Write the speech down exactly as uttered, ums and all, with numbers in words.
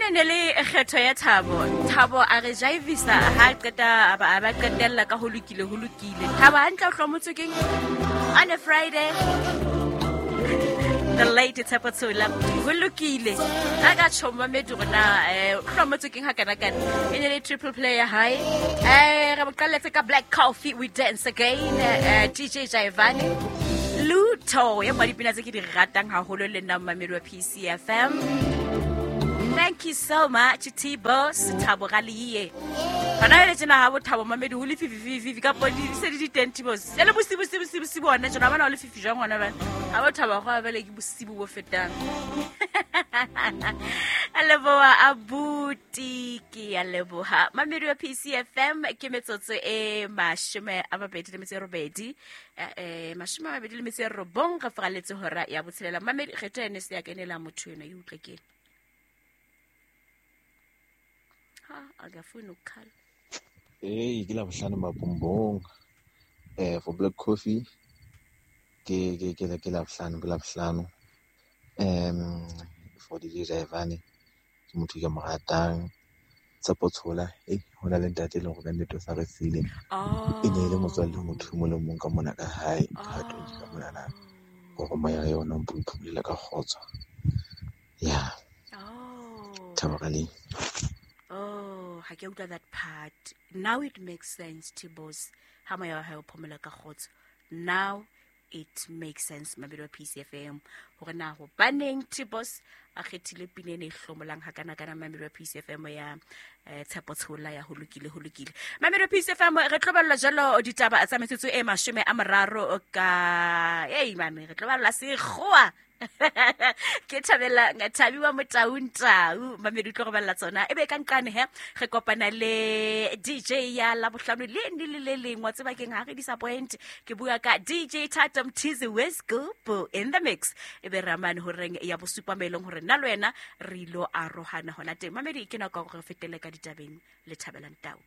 Ene ne le kgetho ya Thabo. Thabo a re jaivisa ha qeta a ba a ba qetella ka ho lokile ho lokile. Thabo hantle o hlomotswe keng? On a Friday. The late Tshepo Tshola. Ho lokile. A ka tjho mamedi hore na eh o hlomotswe keng ha kana kana. E ne le triple play ya hae. Eh re boqalletse ka Black Coffee We Dance Again eh D J Jaivane. Luto ya mwa dipina tse ke di ratang haholo le nna mamedi wa P C F M. Thank you so much, T-Boss, Thabo Raliye. Hona le tjena ha bo Thabo mamedi ho le fifi fifi fifi ka podi se di di teng T-Boss. Se le bosibu bosibu bosibu bosibu hona tjena bana ho le fifi jwang hona bana. Ha bo Thabo go ba le ke bosibu bo fetang. A leboha abuti ke a leboha. Mamedi wa P C F M ke metsotso e mashome a mabedi le metso e robedi. Eh mashome a mabedi le metso e robong re faraletse hora ya botshelela. Mamedi kgetho ene se ya kenela motho ena e utlwe ke. Ha akafuni ukukhala. Hey, ke la bohlano mabombong. Eh for Black Coffee ke ke ke ke la bohlano, ke la bohlano. Um for D J Jaivane ke motho ke mo ratang. Tshepo Tshola, eh hona le ntate e leng hore ka nnete o sa re siile. E ne e le motswalle motho o mong le mong ka mona ka hae, ha twenty ka mona na. Hore moya ya yona o mphulela ka kgotso. Yeah. Oh. Thabo Raliye. Oh, ha ke utlwa that part. Now it makes sense, T-Boss. Ha moya wa hae o phomola ka kgotso. Now it makes sense, mabelo wa P C F M. Hore na hobaneng T-Boss a kgethile pina ena e hlomolang hakana kana mamelo wa P C F M ya, eh, Tshepo Tshola ya ho lokile, ho lokile. Mamelo wa P C F M re tlo balla jalo ditaba tsa metsotso e mashome a mararo ka, hey, mame, re tlo balla sekgowa. Ke thabela Thabi wa Motaung Tau mamedi tlo go balla tsona ebe ka nqane he re kopana le D J ya Labohlano le ne le le leng wa tseba keng ha re disappoint ke bua ka D J Thato Mthizi Wescoop in the mix ebe re amane horeng ya bosupa melong hore nna le wena re ilo arohana hona teng mamedi ke nako ya hore re fetele ka ditabeng le Thabelang Tau.